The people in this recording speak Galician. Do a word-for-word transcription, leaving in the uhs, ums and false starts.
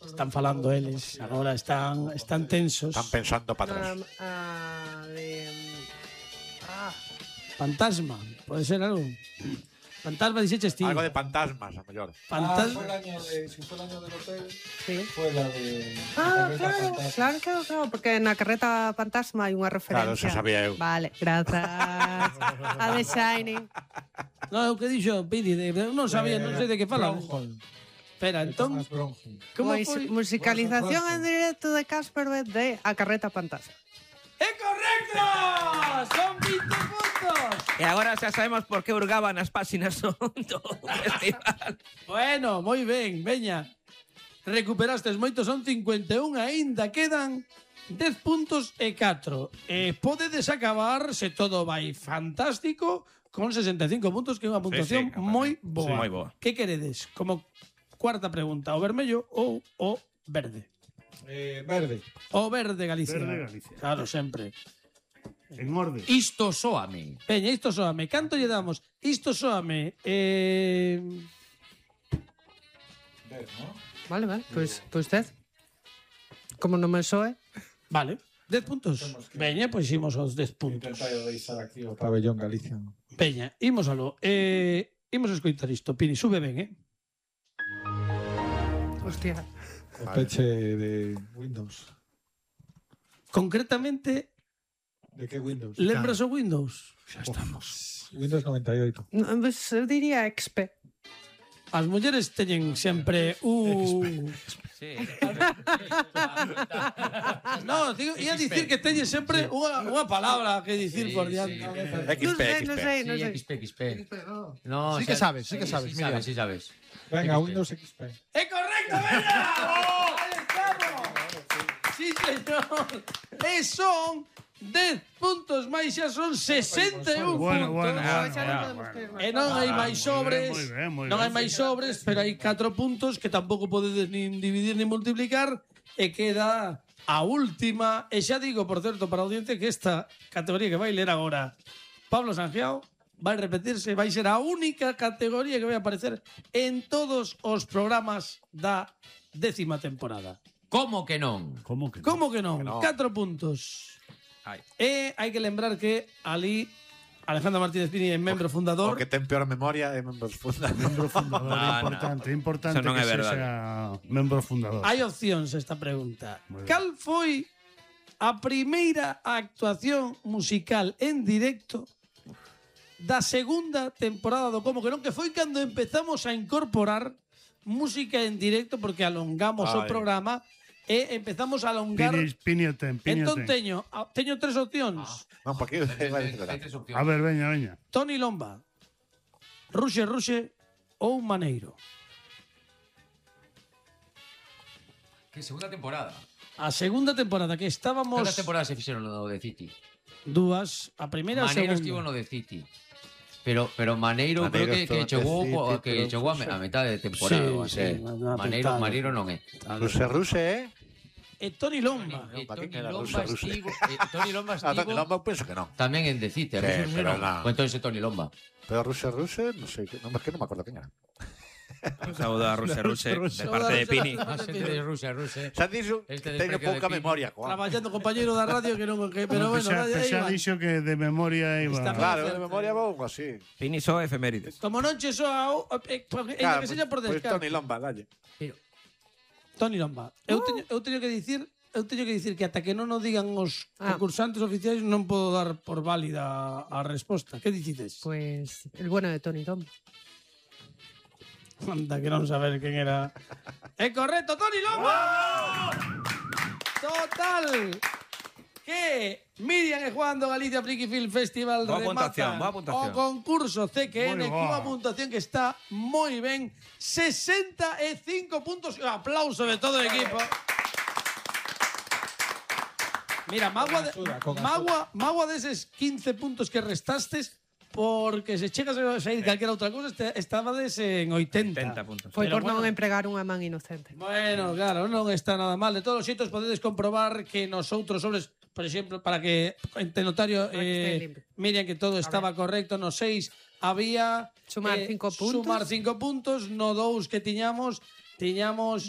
Están falando eles, agora están están tensos. Están pensando para atrás. Um, ah, de... Ah, Fantasma, pode ser algo. Fantasma dixeches ti. Algo de fantasmas, a mellor. Fantasma. Ah, fue el año de, si fue el año del hotel, sí. fue la de... Ah, la claro, fantasma. claro, claro, claro, porque na carreta fantasma hai unha referencia. Claro, eso sabía eu. Vale, grazas. A The Shining. No, o que dixo Pini, de, de, non sabía, non sei de que fala. Bronholm. Espera, entón, Thomas Bronholm. como Pois, foi? musicalización en directo de Casper de A carreta fantasma. ¡É correcto! Son vinte puntos. E agora xa sabemos por que hurgaban as páxinas do festival. Bueno, moi ben, veña. Recuperastes moito, son cincuenta e un, aínda quedan dez puntos e catro. E podedes acabar, se todo vai fantástico, con sesenta e cinco puntos, que é unha puntuación sí, moi sí, boa. moi boa. Que queredes? Como cuarta pregunta, o vermello ou o verde? Eh, verde. O verde Galicia. Verde Galicia. Claro, sempre. En orde. Isto soame. Peña, isto soame. Canto lle damos? Isto soame. Eh... Ver, ¿no? Vale, vale, pois, pois dez. Como non me soe. Vale. dez puntos. Temos que- Veña, pois imos aos dez puntos. Intentar deixar aquí o pabellón Galicia. Peña, imos aló. Eh, imos a escoitar isto. Pini, sube ben, eh? Hostia. O peche de Windows. Concretamente, De que Windows? lembras o Windows? Xa estamos. Windows noventa y ocho. No, pues, eu diría X P. As mulleres teñen sempre un... Sí. No, digo, ia dicir que teñen sempre unha, unha palabra que dicir Sí, por sí. diante. Non sei, non sei, non Sí, sei. X P, X P. No, Sí que sabes, sí que sabes, Sí, mira. sabes, sí sabes. Venga, X P. Windows X P. ¡É correcto, veña! ¡Ahí estamos! Sí, señor. E son dez puntos máis, xa son sesenta e un Bueno, puntos. bueno, Ah, bueno, xa non ya, podemos bueno. ter máis. E non hai Ah, máis moi sobres, ben, moi ben, moi non ben. hai máis sobres, pero hai catro puntos que tampouco podedes nin dividir nin multiplicar e queda a última. E xa digo, por certo, para a audiencia que esta categoría que vai ler agora Pablo Sangiao vai repetirse, vai ser a única categoría que vai aparecer en todos os programas da décima temporada. Como que non? ¿Cómo que no? Como que non? Que non. Catro puntos. Ai. E hai que lembrar que ali Alejandro Martínez Pini é membro O fundador. que ten peor memoria é membros fundadores. Membro fundador, No, no. importante, importante Eso non que é verdade. sea membro fundador. Hai opcións esta pregunta. Moi ben. Cal foi a primeira actuación musical en directo da segunda temporada do Como que non, que foi cando empezamos a incorporar música en directo porque alongamos o Ai. programa e empezamos a alongar. Pini, Pini o ten, Pini o Entón ten. teño, a- teño tres opcións. Non, porque vai Hai tres opcións. A ver, veña, veña. Tony Lomba, Ruxe Ruxe ou Maneiro. Que segunda temporada. A segunda temporada que estábamos Cantas temporadas se fixeron no de City? dúas, a primeira e a Maneiro segunda. estivo no de City. Pero, pero Maneiro, Maneiro creo que, estuvo que en chegou, City, po- que pero chegou a, non me- sei. a metade de temporada. Sí, ou sí, así. na- na Maneiro, pitada. Maneiro non é. Ruse Ruse, eh? E Tony Lomba. Eh, ¿para Tony qué queda Lomba Rusa, Rusa? estivo, eh, Tony Lomba Ah, estivo Lomba, eu penso que non. tamén en The City. Sí, Rusia, Rusia pero non. no. Pues entonces é Tony Lomba. Pero Ruse Ruse, non sei, non, es que non me acordo quen era. Un saúdo a Ruse Ruse, de parte de Pini. Ah, xente de Rusia, Rusia. Xa dixo, Este teño desprecio de pouca Pini. memoria, coa. Traballando compañeiro da radio que non que, pero bueno, Xa, aí xa va. dixo que de memoria iba. Está Claro, certo. de memoria vou así. Pini só efemérides. Como non che soa, o- eh, eh, Claro, que seña por pois descarte. Tony Lomba, dalle. Pero, Tony Lomba. Eu teño, eu teño que dicir, eu teño que dicir que ata que non o digan os Ah. concursantes oficiais non podo dar por válida a resposta. Que dicides? Pues el bueno de Tony Tom. Anda, que non saber quen era. É correcto, Tony Lomba! Total! Que Miriam e Juan do Galicia Friki Film Festival Boa rematan puntuación, boa puntuación. o concurso C Q N Moi cunha boa. puntuación que está moi ben, sesenta e cinco puntos. Un aplauso de todo o equipo. Mira, magua, de, axuda, con axuda. magua, magua deses quince puntos que restastes, porque se chegas a sair calquera outra cousa, este- estabades en oitenta. setenta puntos. Foi Pero por non bueno. empregar unha man inocente. Bueno, claro, non está nada mal. De todos os xeitos podedes comprobar que nos outros sobres, por exemplo, para que ente notario Para que este eh, limpio. miren que todo estaba correcto, no seis había Sumar eh, cinco puntos. Sumar cinco puntos, no dous que tiñamos, tiñamos